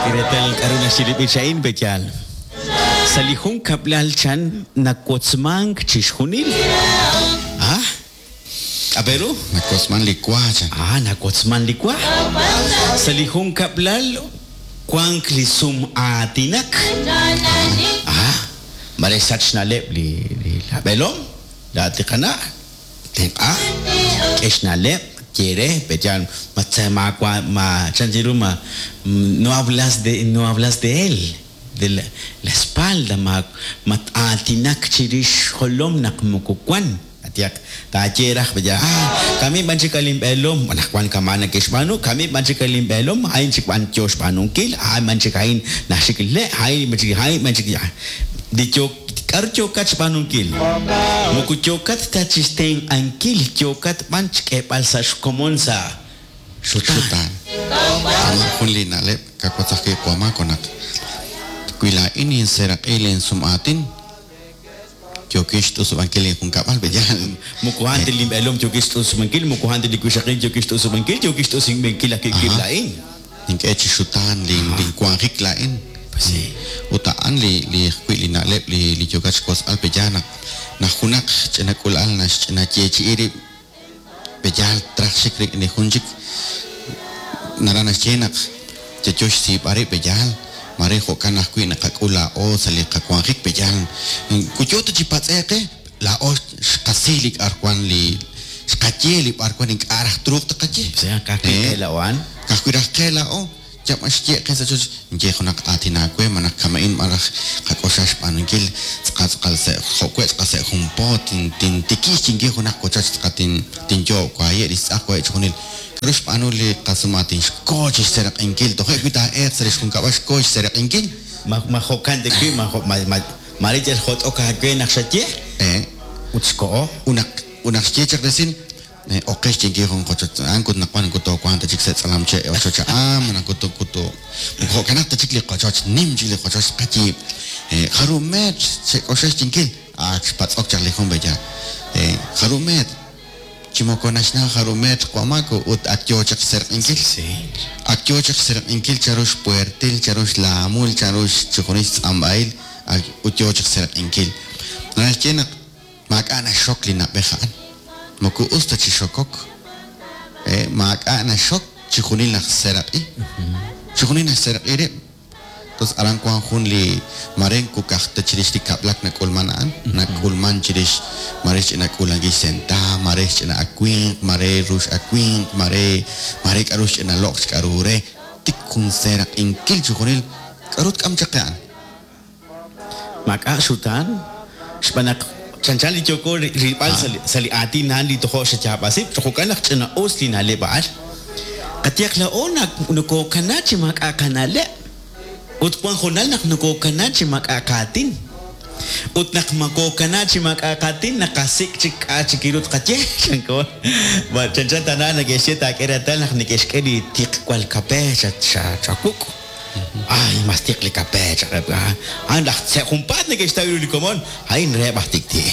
Xak'e reetal k'aru naxye li b'ich a'in, pe'yaal? Sa' li junkab'lal chan nawotzmank chixjunil. Ah, k'a' pe ru? Nawotzman li wa chan. Ah, nawotzman li wa. Sa' li junkab'lal wank li sum'aatinak. Ah, mare xsach xna'leb' li li lab'eelom, laa'at li qana', tenq'a, k'e xna'leb', ye re, pe'yaal ma maawa' ma chan ru ma no hablas de no hablas de él, de la la espalda, ma mat-aatinak chirix xjolom naq moko wan. Qayehaq, taaye raj, pe'yaal, ah, kamik b'an chik linb'eelom, anaqwan kama' neke'xb'aanu, kamik b'an chik linb'eelom, a'in chik b'an yo xb'aanunkil, a'an b'an chik a'in naxik le', a'in b'an chik, a'in b'an chik, li yo, k'aru yookat xb'aanunkil? Moko yookat ta chi xtenq'ankil, yookat b'an xk'eeb'al sa' xkomon sa' xutaan. Xutaan. Kama' jun li na'leb' kawotz ajwi' Wamako naq wi laa'in ninseeraq'i linsum'aatin, yookin xt'usub'ankil linjunkab'al, pe'yaal? Moko a'an ta linb'eelom yookin xt'usub'ankil, moko a'an ta li wixaqil yookin xt'usub'ankil, yookin xt'usub'ankil ajwi' wib' laa'in. Nink'e chi xutaan linwanjik laa'in. Pues sí. Ut a'an li li ajwi' li na'leb' li li yookat xwotzb'al, pe'yaal naq naq junaq ch'ina k'uula'al naxch'ina yeechi'i rib', pe'yaal traj xik rik'in li jun chik, naraj naxye naq yayo xsiib'al rib', pe'yaal? Mare jo'kan ajwi' naqak'ul laa'o sa' li qawanjik, pe'yaal? Wi yo ta chi patz'e'q qe, laa'o xqasi li k'a'ruwan li xqaye li b'arwan ink'a' raj truuq taqaye. O sea, ka'ajwi' qe laa'o a'an. Ka'ajwi' raj qe laa'o, yal b'an xye qe sa' choch, inye junaq aatin aawe malaj kama'in b'an raj qak'oxla xb'aanunkil tz'aqal tz'aqal sa' jo' we' tz'aqal sa' jun po tintikib' xyinkil junaq wochoch tz'aqal tinyoob' waye' li xtz'aq waye' chixjunil. K'aru xb'aanu li qasumaatin? Xko chi xseeraq'inkil. Toje' wi taa'elq sa' li xjunkab'al xko xseeraq'inkil. Ma ma jo'kan ta wi' ma jo' ma ma maare yal jot'ok aawe naq xaye? Ee. Ut xkoho. Ut naq ut naq xye chaq resil, Ok qe xyinkil jun qochoch a'an ut naq wan toowanq ta chik sa' tz'alamche' ochoch a'an malaj ut ut moko jo'kanaq ta chik li qochoch, nim chik li qochoch tqayiib'. Jarub' meetr xek'oxla xyinkil? Ak xpatz'ok chaq li jun b'eya. Jarub' meetr? Chi moko naxnaw jarub' meetr Wamako ut ak yoo chaq xserq'inkil. Ak yoo chaq xserq'inkil chanru xpuertil, chanru xlaamul, chanru chixjunil xtz'amb'ahil ut yoo chaq xserq'inkil. Naraj xye naq maak'a' naxxok li na'b'ej a'an. Moko us ta chi xokok. Maak'a' naxxok chixjunil naxseraq'i. Chixjunil naxseraq'i rib'. Entonces aran wan jun li mare moko ka'aj ta chirix li kab'lak nak'ulman a'an, nak'ulman chirix mare xch'ina k'uulankil xsentaab', mare xch'ina awinq, mare rux awinq, mare mare k'a'ru xch'ina loq' xk'a'ru re, tik jun seeraq'inkil chixjunil k'a'ru tk'am chaq qe a'an. Maak'a' xutaan, xb'aan naq chanchan li yooko rilb'al sa' li aatin a'an li tojo' xayaab'asi, jo'kan naq ch'ina-us li na'leb' a'an. Qayehaq laa'o nokokana chi maak'a' qana'leb', ut wan hoonal naq nokokana chi maak'a' qaatin. Ut naq makokana chi maak'a' qaatin, naqasik' chik k'a' chik ru tqaye, chanko. Chanchan tana neke'xye taak'e reetal naq neke'xk'e li tiqwal kape chawuk'. Ay, mas tiq li kape, cha'qeb'. A'an laj sa' junpaat neke'xtaw ru li komon, a'in reheb' aj tik'ti'.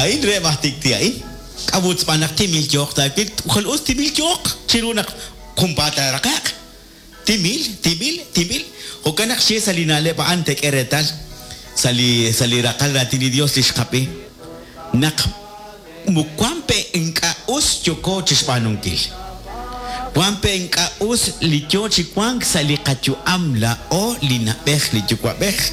A'in reheb' aj tik'ti' a'in. K'a'ut xb'aan naq timil yooq taawil? Jwal us timil yooq chiru naq junpaat taaraqe'q. Timil, timil, timil. Jo'kan naq xye sa' li na'leb' a'an teek'e reetal sa' li sa' li raqal raatin li Dios li xqab'i naq moko wan pe ink'a' us yooko chixb'aanunkil. Wan pe ink'a' us li yoo chi wank sa' li qayu'am laa'o li na'b'ej li yuwa'b'ej.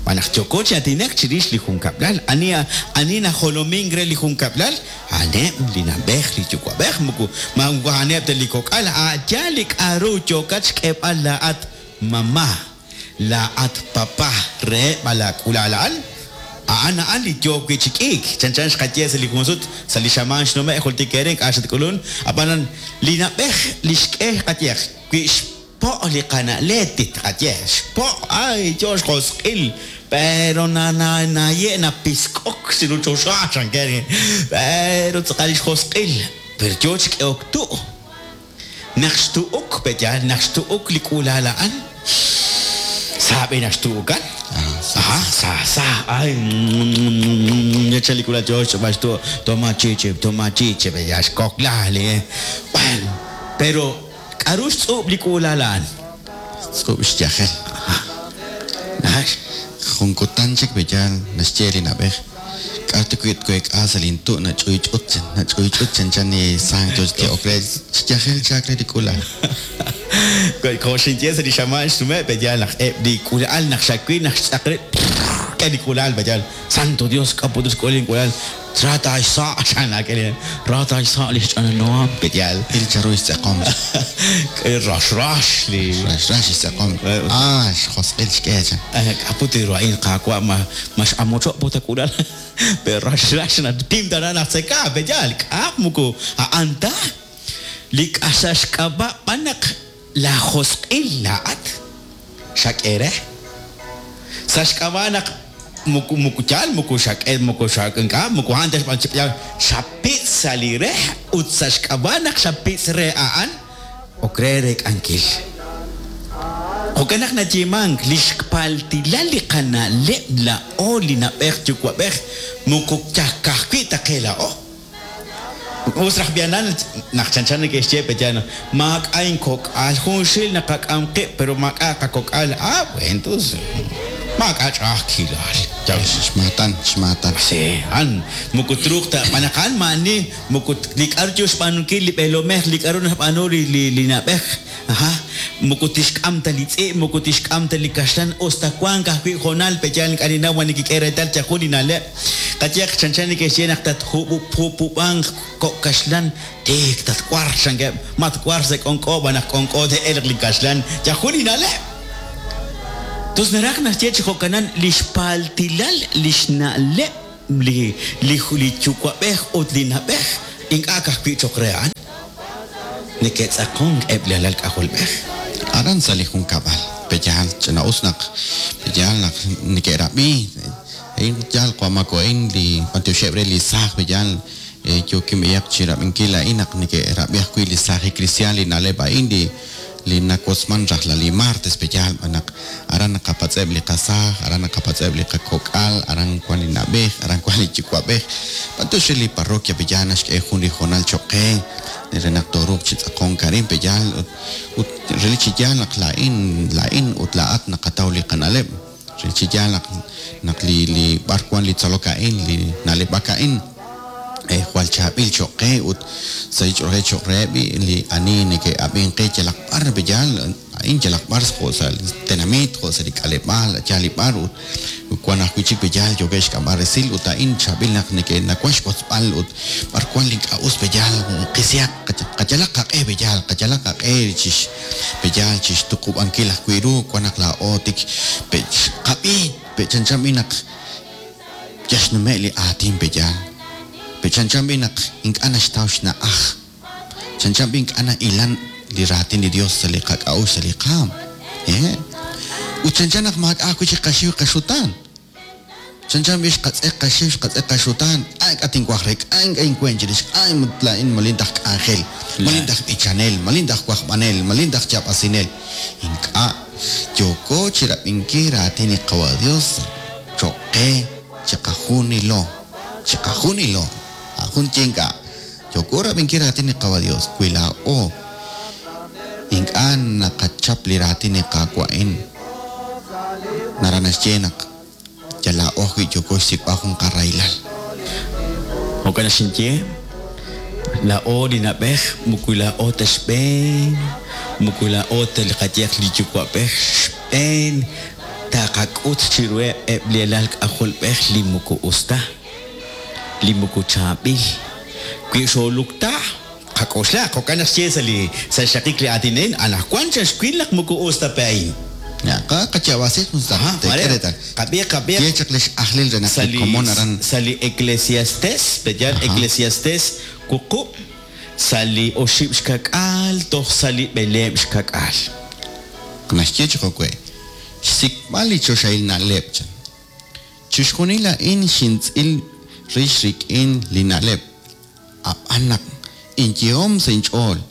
Xb'aan naq yooko chi aatinak chirix li junkab'lal. Ani ani najolomink re li junkab'lal? A'aneb' li na'b'ej li yuwa'b'ej, moko a'aneb' ta li kok'al. A' yaal li k'a'ru yookat xk'eeb'al laa'at mama, laa'at papa reheb' a' laak'ula'al a'an. A'an a'an li yoo wi' chi k'iik. Chanchan xqaye sa' li jun sut, sa' li xamaan xnume' jultik eere ink'a' xatk'ulun. Ab'anan, li na'b'ej li xk'e qayehaq wi' Po' li qana' Leti, tqaye, xpo', ay, yo xjosq'il, pero na na naye' napisk'ok chiru choxa, chanker, pero tz'aqal li xjosq'il, pero yo chi k'ehok tu'. Naq xtu'uk, pe'yaal, naq xtu'uk li k'uula'al a'an, sa b'i naq xtu'ukan. Aha, sa, sa, ay, chan li k'uula'al yo xch'ob'al xtu', toma chichi, toma chichi, pe'yaal, xkokla li, bueno, pero. K'aru xtz'ub' li k'uula'al a'an? Xtz'ub' xyajel. Jun kutan chik b'eyal naxye li na'b'ej, k'a' ta wi' tweek'a sa' lintu' nach'uych'ut nach'uych'ut chanchan li saang yo chi ti'ok re xyajel chaak re li k'uula'al. Jo' xinye sa' li xamaan xnume' b'eyal naq eb' li k'uula'al naq xawil naq xtz'aq rib' k'e li k'uula'al b'eyal Santo Dios k'a' put xk'ul link'uula'al ra taaxsa' chan laak'e ra taaxsa' li xch'ananoam b'eyal. Il chanru xtz'eqom. Rax rax li Rax rax xtz'eqom. Ah, xjosq'il xk'e chan. K'a' put ru a'in qaawa' ma ma x'amocho' put a k'uula'al pero rax rax na tim tana naq tzeka b'eyal k'a' moko a'an ta li k'a sa' xk'ab'a' b'an naq la josq'il laa'at xak'e re sa' xk'ab'a' naq moko moko yaal moko xak'e moko xak'ink'a moko a'an ta xb'aan chi xapitz' sa' li re ut sa' xk'ab'a' naq xapitz' re a'an ok re reek'ankil. Jo'kan naq nayeemank li xpaltilal li qana'leb' laa'o li na'b'ej yuwa'b'ej moko ka'ajwi' ta qe laa'o. Us raj b'ihanan naq chanchan neke'xye b'eyal maak'a' inkok'al junxil naqak'am qib' pero maak'a' qakok'al. Ah, bueno, entonces maak'a' ch'a'ajkilal. Xmaatan, xmaatan. Sí, a'an moko truuq ta b'an naq a'an maa'ani moko li k'aru yo xb'aanunkil li b'eelomej li k'aru naxb'aanu li li li na'b'ej aja moko tixk'am ta li tz'i' moko tixk'am ta li kaxlan us ta wank ajwi' hoonal b'eyal ink'a' ninnaw ma nikik'e reetal yajun li na'leb' qayehaq chanchan neke'xye naq tatjub'upub'anq kok' kaxlan tiik tatwar chankeb' matwar sa' k'onk'o b'an naq k'onk'o te'elq li kaxlan yajun li na'leb'. Tos naraj naxye chi jo'kanan li xpaltilal li xna'leb' li li li yuwa'b'ej ut li na'b'ej ink'a' ka'ajwi' cho'q re a'an. Neke'tz'aqonk eb' li alal k'ajolb'ej. Aran sa' li junkab'al b'eyal ch'ina'us naq b'eyal naq neke'rab'i a'in yaal qamako a'in li b'antioxeb' re li saaj b'eyal yookin b'eyaq chi rab'inkil a'in naq neke'rab'i ajwi' li saajil kristiaan li na'leb' a'in li li nawotzman rajlal li martes b'eyal b'an naq aran naqapatz'eb' li qasaaj, aran naqapatz'eb' li qakok'al, aran wan li na'b'ej, aran wan li yuwa'b'ej. B'antiox re li parroquia b'eyal naxk'e jun li hoonal cho'q qe re naq tooruuq chi tz'aqonk arin b'eyal ut relik chi yaal naq laa'in laa'in ut laa'at naqataw li qana'leb' relik chi yaal naq naq li li b'ar wan li tzolok a'in li na'leb'ak a'in jwal chaab'il cho'q qe ut sa' li ch'oolej cho'q reheb' li ani neke'ab'ink qe yalaq b'ar b'eyal a'in yalaq b'ar jo' sa' li tenamit jo' sa' li k'aleb'aal yaal li b'ar ut wan ajwi' chik b'eyal yookeb' xk'amb'al resil ut a'in chaab'il naq neke'nawan xwotzb'al ut b'ar wan li ink'a' us b'eyal qisihaq qayalaq qaq'e b'eyal qayalaq qaq'e chix b'eyal chixtuqub'ankil ajwi' ru wan naq laa'o tik qab'i chanchan b'i naq yaxnume' li aatin b'eyal chanchan b'i naq ink'a' naxtaw xna'aj chanchan b'i ink'a' na'ilan li raatin li Dios sa' li qak'a'uxl sa' li qaam ut chanchan naq maak'a' ajwi' chik qaxiw qaxutaan chanchan b'i xqatz'eq qaxiw xqatz'eq qaxutaan k'a' ink'a' tinwaj re k'a' ink'a' inwen chirix k'a' laa'in malin taj k'anjel malin taj b'ichanel malin taj wajb'anel malin taj chab'asinel ink'a' yooko chirab'inkil raatin li Qawa' Dios cho'q qe chiqajunilo chiqajunilo jun ye ink'a' yooko rab'inkil raatin li Qawa' Dios wi laa'o ink'a' naqachap li raatin li Qaawa' a'in naraj naxye naq yal laa'o ajwi' yooko xsik'b'al jun qarahilal. Jo'kan xinye laa'o li na'b'ej moko laa'o ta xb'een moko laa'o ta li qayehaq li yuwa'b'ej xb'een taqak'ut chiruheb' eb' li alal k'ajolb'ej li moko us ta li moko chaab'il wi xoolukta qak'oxla jo'kan naq xye sa' li sa' xraqik li aatin a'in anaqwan xaxwil naq moko us ta pe a'in. Ya, qachawasi jun sa' tek'e reetal. Qab'i qab'i Ye chaq li x'ajlil re naq sa' li li komon aran sa' li Eclesiastes b'eyal Eclesiastes wuqub' sa' li oxib' xkak'al toj sa' li b'eleeb' xkak'al. Naxye chi jo'we' xsik'b'al li choxahil na'leb' chan. Chixjunil a'in xintz'il rix rik'in li na'leb' ab'an naq inyehom sa' inch'ool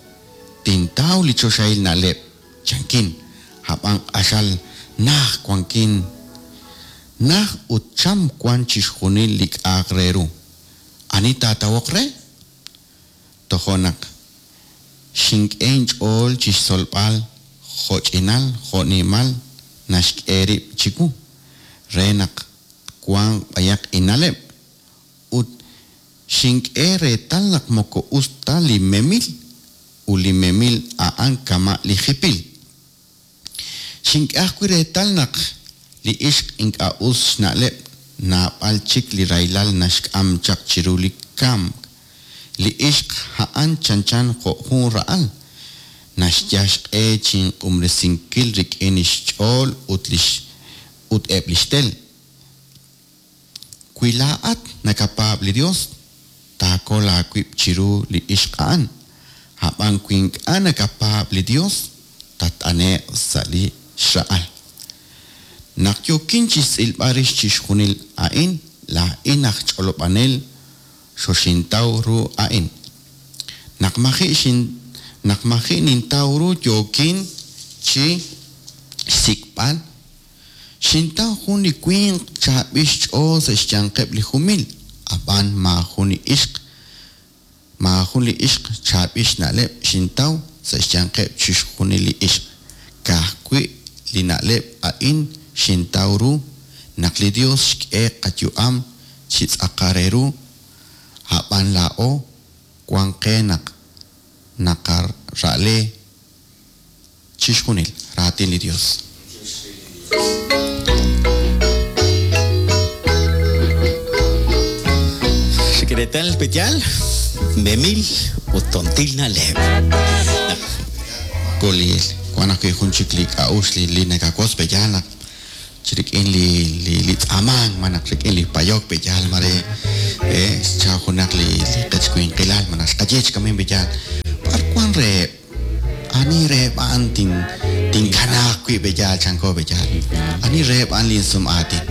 tintaw li choxahil na'leb' chankin ab'an q'axal naj wankin naj ut cham wan chixjunil li k'a'aq re ru ani taatawoq re tojo' naq Xink'e inch'ool chi xtzolb'al jo'ch'inal jo'nimal naxk'e rib' chiwu, re naq twanq b'ayaq inna'leb'. Ut xink'e reetal naq moko us ta li memil, ut li memil a'an kama' li jipil. Xink'e ajwi' reetal naq li ixq ink'a' us xna'leb' naab'al chik li rahilal naxk'am chaq chiru li kamk. Li ixq a'an chanchan jo' jun ra'al, naxyal xq'e chinq'unb'esinkil rik'in xch'ool ut lix ut eb' li xtel. Wi laa'at nakapaab' li Yos, taakol aawib' chiru li ixq a'an. Ab'an wi ink'a' nakapaab' li Yos, tatt'ane'q sa' li xra'al. Naq yookin chi xtz'ilb'al rix chixjunil a'in, laa'in aj ch'olob'anel xoxintaw ru a'in. Naq maji' xin naq maji' nintaw ru yookin chi xsik'b'al, xintaw jun li winq chaab'il xch'ool sa' xyanqeb' li jumil, ab'an maajun li ixq maajun li ixq chaab'il xna'leb' xintaw sa' xyanqeb' chixjunil li ixq. Ka'ajwi' li na'leb' a'in xintaw ru, naq li Yos xk'e qayu'am chi tz'aqal re ru, ab'an laa'o wank qe naq naqara'le chixjunil. Raatin li Yos. Xik'retal peyal, memil ut tontil na'leb'. Koliil, wank ajwi' jun chik li k'a'uxl li li nakawotz pe'yaal naq chi rik'in li li li tz'aamank malaj rik'in li payok pe'yaal mare xchaw junaq li li qechwinqilal malaj xqaye chi kamin pe'yaal b'ar wank reheb' ani reheb' a'an tin tinkanaaq wi' pe'yaal chanko pe'yaal ani reheb' a'an linsum'aatin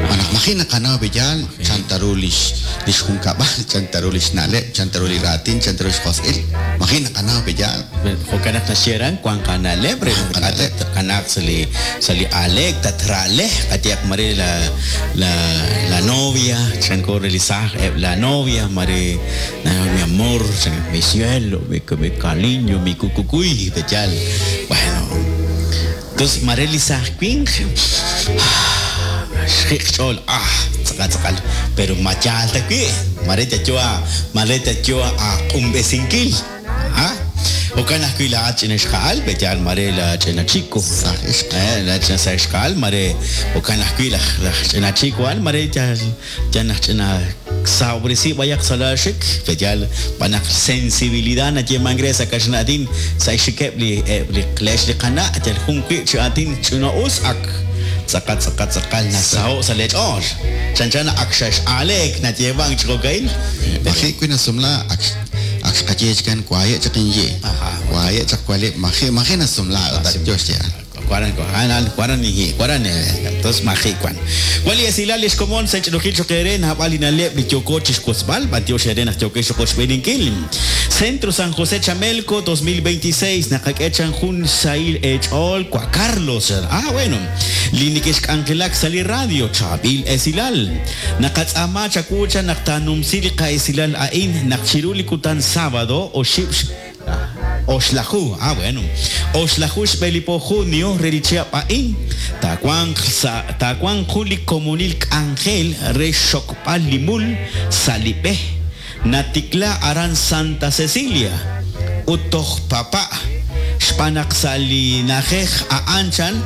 malaj maji' naqanaw pe'yaal chan ta ru lix lix junkab'al chan ta ru li xna'leb' chan ta ru li raatin chan ta ru xjosq'il maji' naqanaw pe'yaal. Jo'kan naq naxye aran wanq aana'leb' re naq ink'a' tatkanaaq sa' li sa' li aaleek tatra'le qayehaq mare la la la novia chanko re li saaj eb' la novia mare mi amor chan mi cielo mi mi cariño mi kukukuy pe'yaal bueno tos mare li saaj winq xjiq' xch'ool ah tz'aqal tz'aqal pero ma yaal ta wi' mare yalyo a mare yalyo aaq'unb'esinkil. Ah, jo'kan ajwi' laa'at ch'ina ixqa'al, pe'yaal mare la ch'ina chico. Saaj ixq. La ch'ina saaj ixqa'al, mare jo'kan ajwi' laj laj ch'ina chico a'an mare yal yal naq ch'ina sahob'resi b'ayaq sa' laaxik, pe'yaal b'an naq sensibilidad nayeemank re sa' kaxlan aatin sa' xxikeb' li eb' li lex li qana' yal jun wi' chi aatin ch'ina'us ak tz'aqal tz'aqal tz'aqal nasaho' sa' leech'ool. Chanchan naq ak xex'aaleek nayeemank chi jo'ka'in. Maji' wi' nasumla ak ak xqaye chikan waye' chaq inyi'. Waye' chaq walib' maji' maji' nasumla ut ak yo xyeeb'al. Waran waran waran inhi' waran tos maji' wan. Wan li esilal li xkomon sa' ch'inukil choq' eere naab'al li na'leb' li yooko chixwotzb'al b'antiox eere naq yookex chiqochb'eeninkil. Centro San José Chamelco 2026 naqak'e chan jun xsahil eech'ool wa Carlos. Ah, bueno. Li neke'xk'anjelak sa' li radio chaab'il esilal. Naqatz'aama chawu chan naq taanumsi li qa'esilal a'in naq chiru li kutan sábado oxib' oxlaju, ah bueno, oxlaju xb'e li po junio re li chihab' a'in, taawanq sa' taawanq jun li komonil k'anjel re xxokb'al li mul sa' li b'e natikla aran Santa Cecilia ut toj Papa' xb'aan naq sa' li na'ajej a'an chan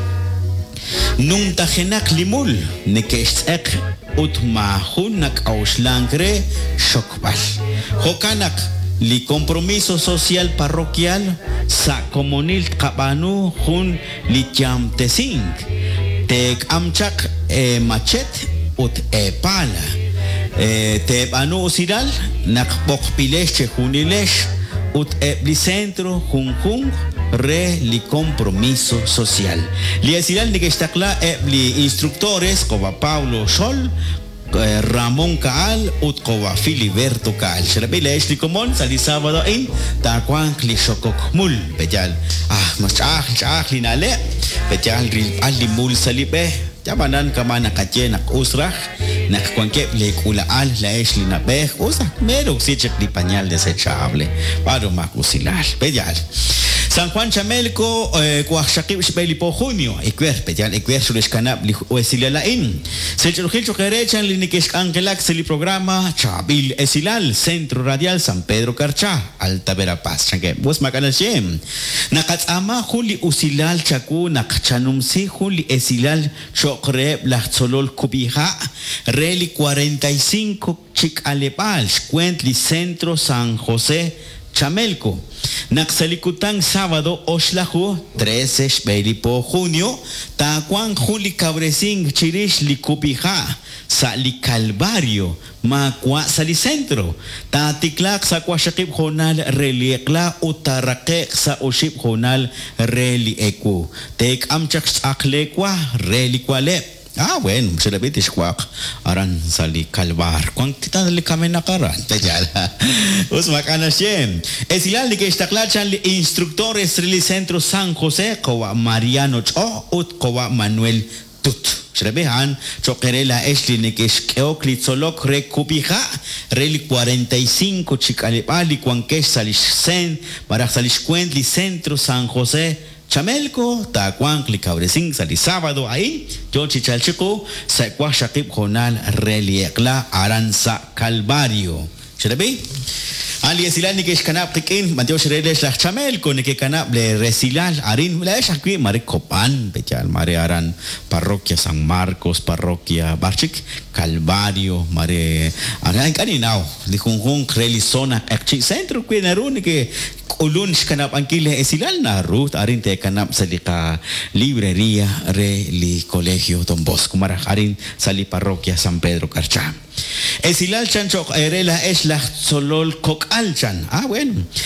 Numtajenaq li mul neke'xtz'eq ut maajun nak'a'uxlank re xxokb'al. Jo'kan naq li compromiso social parroquial sa' komonil tqab'aanu jun li yamtesink, teek'am chaq eemachet ut eepala. Teeb'aanu usilal naq b'oqb'ilex chejunilex ut eb' li centro junjunq re li compromiso social. Li esilal neke'xtaqla eb' li instructores Qowa Pablo Xol, Ramón Caal ut Qowa Filiberto Caal. Xrab'i leex li komon sa' li sábado a'in taawanq li xokok mul. Pe'yaal, ah, mas ch'a'aj ch'a'aj li na'leb'. Pe'yaal rilb'al li mul sa' li b'e. Ab'anan kama' naqaye naq us raj. Naq wankeb' lee k'uula'al laa'ex li na'b'ej, us aj meeroksi chik li pañal desechable. B'aanumaq usilal. Pe'yaal. San Juan Chamelco, waqxaqib' xb'e li po junio. Ewer, pe'yaal ewer xulexkanab' li esilal a'in. Sech'orjil choq eere chan li neke'xk'anjelak sa' li programa Chaab'il Esilal, Centro Radial San Pedro Carchá, Alta Verapaz. Chankeb', us maak'a' naxye. Naqatz'aama jun li usilal chawu naq chanumsi jun li esilal cho'q reheb' laj tzolol kub'iha' re li 45 chi k'aleb'aal xweent li Centro San José Chamelco. Naq sa' li kutan sábado oxlaju, 13 xb'e li po junio, taawanq jun li kawresink chirix li kub'iha' sa' li Calvario, maawa' sa' li centro. Taatiklaaq sa' 6 hoonal re li eq'la ut taaraqe'q sa' 5 hoonal re li ewu. Teek'am chaq xtz'aq leewa re li wa'leb'. Ah, bueno, xerab'i tixwaq aran sa' li Calvar. Wank ta li kamenaq aran. Pe'yaal. Us maak'a' naxye. Esilal neke'xtaqla chan li instructores re li Centro San José, qawa' Mariano Ch'o ut qawa' Manuel Tut. Xerab'i a'an cho'q eere laa'ex li neke'xk'ehok li tzolok re kub'iha' re li 45 chi k'aleb'aal li wankex sa' li xsen malaj sa' li xweent li Centro San José Chamelco, taawanq li kawresink sa' li sábado a'in yo chi chalk chiqu sa' 6 hoonal re li eq'la aran sa' Calvario. Xerab'i? A'an li esilal neke'xkanab' qik'in, b'antiox re lex laj Chamelco neke'kanab' le resilal arin laa'ex ajwi' mare Copán, pe'yaal mare aran Parroquia San Marcos, Parroquia b'ar chik Calvario, mare aran ink'a' ninnaw li junjunq re li zona Q'eqchi' Centro wi naru neke'k'ulun xkanab'ankil le esilal naru arin teekanab' sa' li qalibreria re li Colegio Don Bosco malaj arin sa' li Parroquia San Pedro Carchá. Esilal chan cho'q eere laa'ex laj tzolol kok'al chan. Ah, bueno.